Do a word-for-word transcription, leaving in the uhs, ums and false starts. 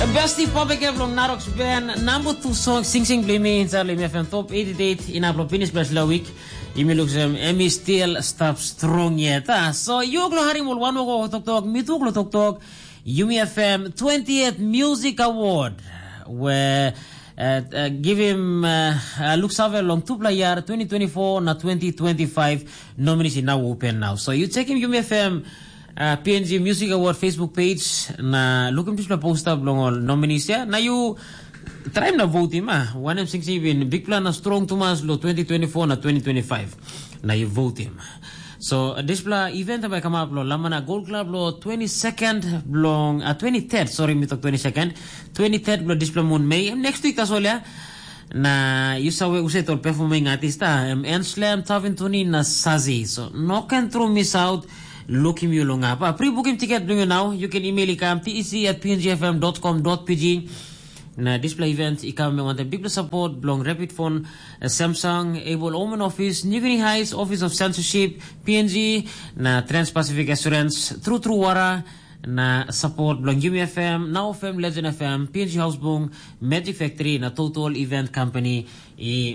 Besti pop ekep long Naroks Ben, number two song, Sing Sing Blimi, inside Limi F M Top eighty-eight, in upload finish best la week. Yumi look some Emmy still stop strong yet. Ah. So you glo harim ol one go tok tok, mi tu glo tok tok. Yumi F M twentieth Music Award, where uh, uh, give him uh, uh, look save long two player twenty twenty-four na twenty twenty-five nominees in now open now. So you check him Yumi F M uh, P N G Music Award Facebook page na look him dispela poster bilong ol nominees ya. Na you try na vote him ah. Wanem sing si bin big plan na strong tumas lo twenty twenty-four na twenty twenty-five. Na you vote him. So uh, dispela event bai come up lo Lamana Gold Club lo twenty-second bilong uh, twenty-third, sorry, mi tok twenty-second, twenty-third bilong dispela moon Mei. Em next week tasol ya. Na you sawe use tol performing artist ah, em Enslam, Tavin Tuni na Sazi. So no can throw miss out. Look him you long up. Ah, pre-book him ticket bilong you now. You can email ikam tec at pngfm.com.pg. Na dispela event i kam me wantaim big support bilong Rapid Phone, uh, Samsung, Able Omen Office, New Guinea Heights Office of Censorship, P N G, na Trans-Pacific Assurance, True True Water, na support bilong Yumi F M, Now F M, Legend F M, P N G Housebung, Magic Factory, na Total Event Company. I